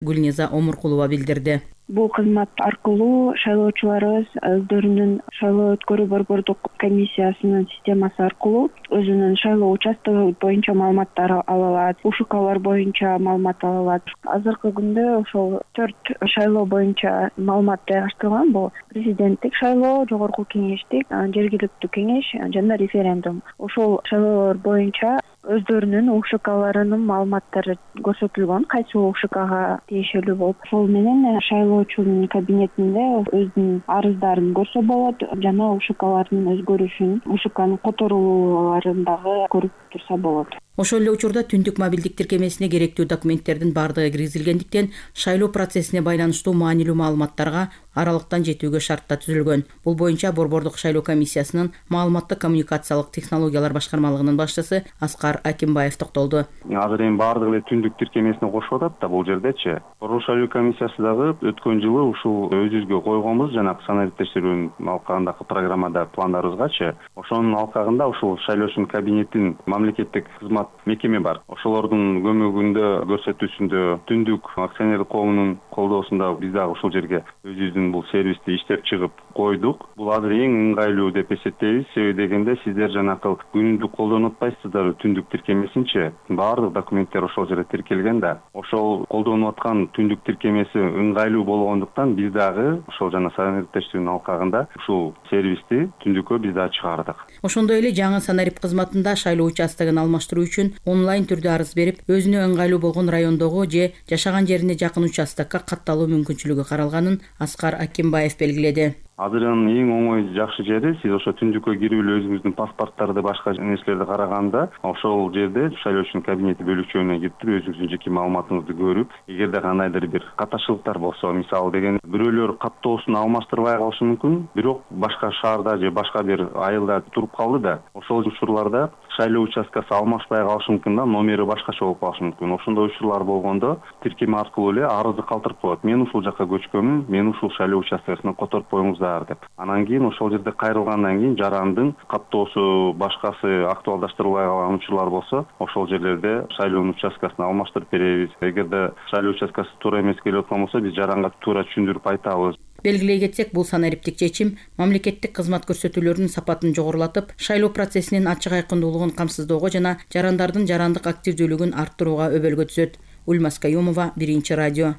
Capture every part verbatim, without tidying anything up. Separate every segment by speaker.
Speaker 1: Гүлниза Омуркулова билдирди.
Speaker 2: Бул кызмат аркылуу шайлоочуларыбыз өздөрүнүн шайлоо өткөрүү борбордук комиссиясынын системасы аркылуу өзүнүн шайлоо участогу боюнча маалыматтар ала алат, УШКлар боюнча маалымат ала алат. Азыркы күндө ошол төрт шайлоо боюнча маалымат жайгаштырылган. Бул президенттик шайлоо, жогорку кеңештик, жергиликтүү кеңеш жана референдум. Ошол шайлоолор боюнча өздөрүнүн УШКларынын маалыматтары көрсөтүлгөн, кайсы УШКга тиешелүү болуп, ошол менен шайлоочунун кабинетинде өзүнүн арыздарын көрсө болот жана УШКлардын өзгөрүшүн, УШКнын которулууларын дагы көрүп турса болот.
Speaker 1: Ошол эле учурда түндүк мобилдик тиркемесине керектүү документтердин бардыгы киргизилгендиктен шайлоо процессине байланыштуу маанилүү маалыматтарга аралыктан жетүүгө шарттар түзүлгөн. Бул боюнча борбордук шайлоо комиссиясынын маалыматтык коммуникациялык технологиялар башкармалыгынын башчысы Аскар Акимбаев токтолду.
Speaker 3: Азыр эми бардыгы эле түндүк тиркемесине кошуп атат да бул жердечи. Борбордук шайлоо комиссиясы дагы өткөн жылы ушул өзүбүзгө койгонбуз жанагы санарип текшерүүнүн алкагындагы программада пландарыбызгачы ошонун алкагында ушул шайлоочунун кабинетин мамлекеттик кызмат мекеме бар. Ошолордун көмөгүндө көрсөтүүсүндө түндүк акционерлик коомунун колдоосунда биз дагы ушул жерге өзүбүздүн бул сервисти иштеп чыгып койдук. Бул азыр эң ыңгайлуу деп эсептейбиз. Себеби дегенде сиздер жанакы күнүмдүк колдонуп атпайсыздар түндүк тиркемесинчи. Баардык документтер ошол жерде тиркелген да. Ошол колдонуп аткан түндүк тиркемеси ыңгайлуу болгондуктан биз дагы ошол жана санарип текшерүүнүн алкагында ушул сервисти түндүккө биз дагы чыгардык.
Speaker 1: Ошондой эле жаңы санарип кызматында шайлоо участогун алмаштыруу үчүн онлайн түрдө арыз берип, өзүнө ыңгайлуу болгон райондогу же жашаган жерине жакын участокко катталуу мүмкүнчүлүгү каралганын Аскар Акимбаев белгиледи.
Speaker 3: Азырын эң оңой жакшы жери сиз ошо түндүккө кирип эле өзүңүздүн паспорттарды, башка нерселерди караганда ошол жерде шайлоочунун кабинети бөлүкчөгүнө кирип өзүңүздүн жеке маалыматыңызды көрүп, эгерде кандайдыр бир каташылыктар болсо, мисалы деген бирөөлөр каттоосун алмаштырбай калышы мүмкүн, бирок башка шаарда же башка бир айылда туруп калды да, ошол учурларда шайлоо участкасы алмашпай калышы мүмкүн да, номери башкача болуп калышы мүмкүн. Ошондой учурлар болгондо тиркеме аркылуу эле арызды калтырып коет. Мен ушул жакка көчкөнмүн, мен ушул шайлоо участкасына которуп коюңуздар деп. Анан кийин ошол жерде кайрылгандан кийин жарандын каттоосу башкасы актуалдаштырылбай калган учурлар болсо, ошол жерлерде шайлоонун участкасын алмаштырып беребиз. Эгерде шайлоо участкасы туура эмес келип аткан болсо, биз жаранга туура түшүндүрүп айтабыз.
Speaker 1: Белгилей кетсек, бул санариптик чечим мамлекеттик кызмат көрсөтүүлөрүнүн сапатын жогорулатып, шайлоо процессинин ачык айкындуулугун камсыздоого жана жарандардын жарандык активдүүлүгүн арттырууга өбөлгө түзөт. Ульмас Каюмова, Биринчи радио.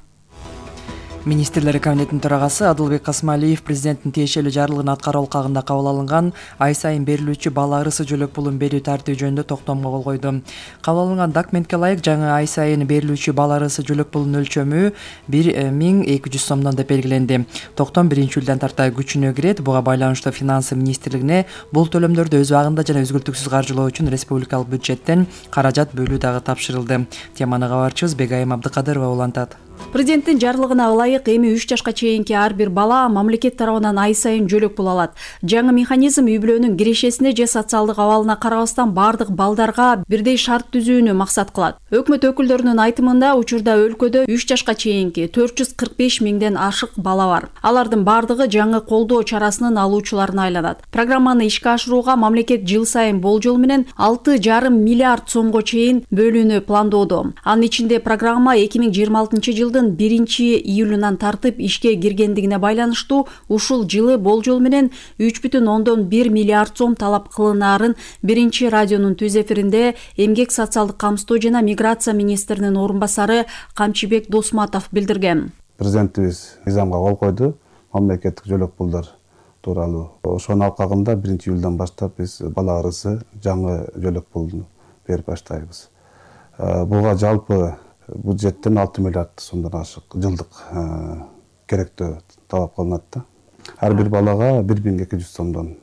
Speaker 4: Министрлер кабинетинин төрагасы Адылбек Касмалиев президенттин тиешелүү жарлыгын аткаруу алкагында кабыл алынган ай сайын берилүүчү бала ырысы жөлөк пулун берүү тартиби жөнүндө токтомго кол койду. Кабыл алынган документке ылайык жаңы ай сайын берилүүчү бала ырысы жөлөк пулунун өлчөмү бир миң эки жүз сомдон деп белгиленди. Токтом биринчи июлдан тарта күчүнө кирет. Буга байланыштуу Финансы министрлигине бул төлөмдөрдү өз убагында жана үзгүлтүксүз каржылоо үчүн республикалык бюджеттен каражат бөлүү дагы тапшырылды. Теманы кабарчыбыз Бегайым Абдыкадырова улантат.
Speaker 5: Президенттин жарлыгына ылайык эми үч жашка чейинки ар бир бала мамлекет тарабынан ай сайын жөлөк пул алат. Жаңы механизм үй-бүлөнүн кирешесине же социалдык абалына карабастан бардык балдарга бирдей шарт түзүүнү максат кылат. Өкмөт өкүлдөрүнүн айтымында учурда өлкөдө үч жашка чейинки төрт жүз кырк беш миңден ашык бала бар. Алардын бардыгы жаңы колдоо чарасынын алуучуларына айланат. Программаны ишке ашырууга мамлекет жыл сайын болжол менен алты жарым миллиард сомго чейин бөлүүнү пландоодо. Анын ичинде программа эки миң жыйырма алтынчы жылдын биринчи июлунан тартып ишке киргендигине байланыштуу ушул жылы болжол менен үч бүтүн ондон бир миллиард сом талап кылынаарын Биринчи радионун түз эфиринде эмгек социалдык камсыздоо жана миграция министринин орун басары Камчыбек Досматов билдирген.
Speaker 6: Президентибиз мыйзамга кол койду. Мамлекеттик жөлөк пулдар тууралуу. Ошонун алкагында биринчи июлдан баштап биз бала ырысы жаңы жөлөк пулду берип баштайбыз. Буга жалпы бюджеттен алты миллиард сомдон ашык жылдык керектөө талап кылынат да. Ар бир балага бир миң эки жүз сомдон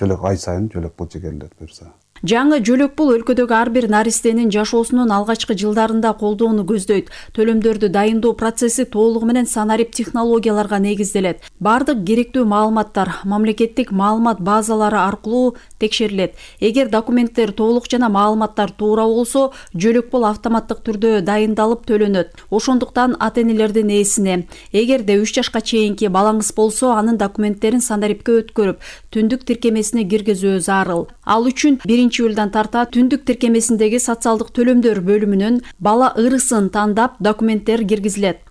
Speaker 6: жөлөк ай сайын жөлөк пул чегерилет буюрса.
Speaker 5: Жаңы жөлөк пул өлкөдөгү ар бир наристенин жашоосунун алгачкы жылдарында колдоону көздөйт. Төлөмдөрдү дайындоо процесси толугу менен санарип технологияларга негизделет. Бардык керектүү маалыматтар мамлекеттик маалымат базалары аркылуу текшерилет. Эгер документтер толук жана маалыматтар туура болсо, жөлөк пул автоматтык түрдө дайындалып төлөнөт. Ошондуктан ата-энелердин ээсине, эгерде үч жашка чейинки балаңыз болсо, анын документтерин санарипке өткөрүп, түндүк тиркемесине киргизүү зарыл. Ал үчүн биринчи биринчи июлдан тарта түндүк тиркемесиндеги социалдык төлөмдөр бөлүмүнөн бала ырысын тандап документтер киргизилет.